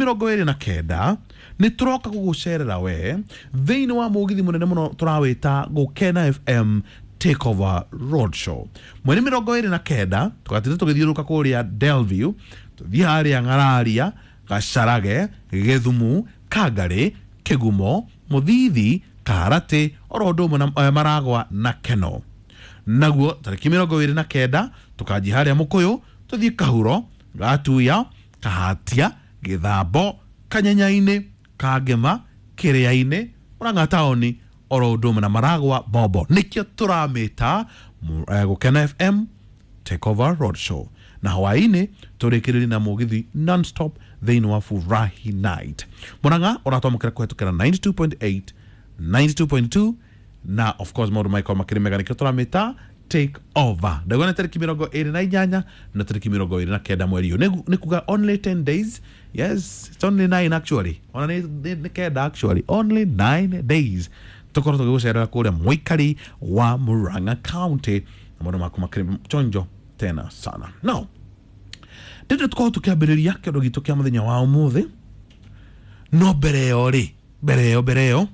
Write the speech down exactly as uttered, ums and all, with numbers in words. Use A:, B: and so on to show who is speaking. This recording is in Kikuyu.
A: mĩrongo ĩrĩ na kenda nĩ tũroka gũgũcerera we thĩinĩ wa mũgithi mũnene mũno tũrawĩta Gũkena F M Takeover Road Show. Mweri mĩrongo ĩrĩ na kenda tũgatinda tũgĩthiũrũrũka kũrĩa Delview, tũthiĩ harĩa Ng'araria, Gacarage, Gĩthumu, Kangarĩ, Kĩgumo, Mũthithi, Karatĩ, oro ũndũ ũmwe na eh, Maragwa na Keno. Naguo tarĩki mĩrongo ĩrĩ na kenda tũkanjia harĩa Mũkũyũ, tũthiĩ Kahuro, Gatuya, Kahatia, Gĩthambo, Kanyenyainĩ, Kangema, Kĩrĩa-inĩ, Mũrang'a taũni, oro ũndũ ũmwe na Maragwa Bombo. Nĩkĩo tũramĩta mu- eh, Gũkena F M Takeover Road Show. Na hwaĩ-inĩ tũrĩkĩrĩrie na mũgithi non-stop thĩinĩ wa Furahi Night. Mũrang'a ũratwamũkĩra kũhetũkĩra ninety-two point eight, ninety-two point two, na of course maũndũ magĩkorwo makĩrĩ mega. Nĩkĩo tũramĩta take over. Ndaigua nĩ tarĩki mĩrongo ĩrĩ na inyanya na tarĩki mĩrongo ĩrĩ na kenda mweri ũyũ. Nĩ- nĩ kuga only ten days. Yes, it's only nine actually. Ona nĩ nĩ- nĩ kenda actually. Only nine days tũkorwo tũgĩgũcerera kũrĩa mũikari wa Murang'a County na maũndũ maku makĩrĩ chonjo tena sana. Now ndĩndĩ tũkorwo tũkĩambĩrĩria kĩndũ gitũ kĩa mũthenya wa ũmũthĩ, no mbere ĩyo rĩ, mbere ĩyo mbere ĩyo